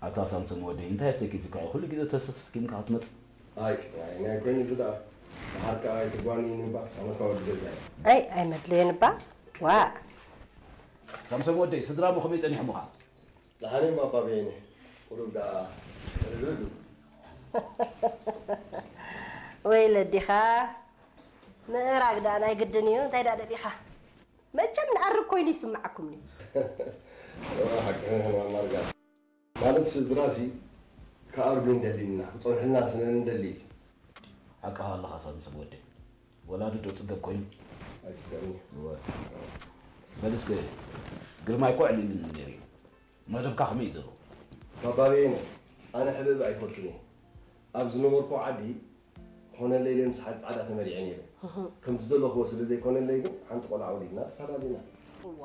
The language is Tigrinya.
ኣታ ሳምሶም ወደይ እንታይ ኣሰኪፉካ እዩ ኩሉ ግዜ ተሰኪምካ ክትመጽእ? ኣይ ናይ ናይ ኮይኑ እዚ ደኣ ደሓር ከኣ ኣይትጓንይኒ እባ ኣመካ ወዲ ገዛ እየ። ኣይ ኣይመድለየን እባ። ዋእ። ሳምሶም ወደይ ስድራ እሞ ከመይ ጸኒሖምኻ? ደሓን እዮም ኣባ በየነ። ቁሩብ ደኣ ርግርግ። ወይ ለዲኻ ምእራግ ደኣ ናይ ግድን እዩ እንታይ ደኣ ደሊኻ? መቸም ንኣርግ ኮይኑ ይስምዓኩም እዩ። እዋ ሓቅህን ማማርጋ። ማለት ስድራሲ ክኣርጉ እንደሊ ኢና ክጸንሑልና ስነ እንደሊ። ሓቅኻ ኣለኻ ሳምሶም ወደይ። ወላዲ ዶ ጽገብ ኮይኑ? ኣይጽገብኒ። እወ። በል እስከ ግርማይ እኮ ዕሊሉኒ ነይሩ እዩ። መደብካ ከመይ እዩ ዘሎ? ባባ በየነ ኣነ ሕብእብ ኣይፈቱን እየ። ኣብ ዝነበርኩ ዓዲ ኮነለይ ምስ ሓንቲ ጻዕዳ ተመሪዐ ነይረ። ከምቲ ዘለኽዎ ስለ ዘይኮነለይ ግን ሓንቲ ቆልዓ ወሊድና ተፈላለና። እዋ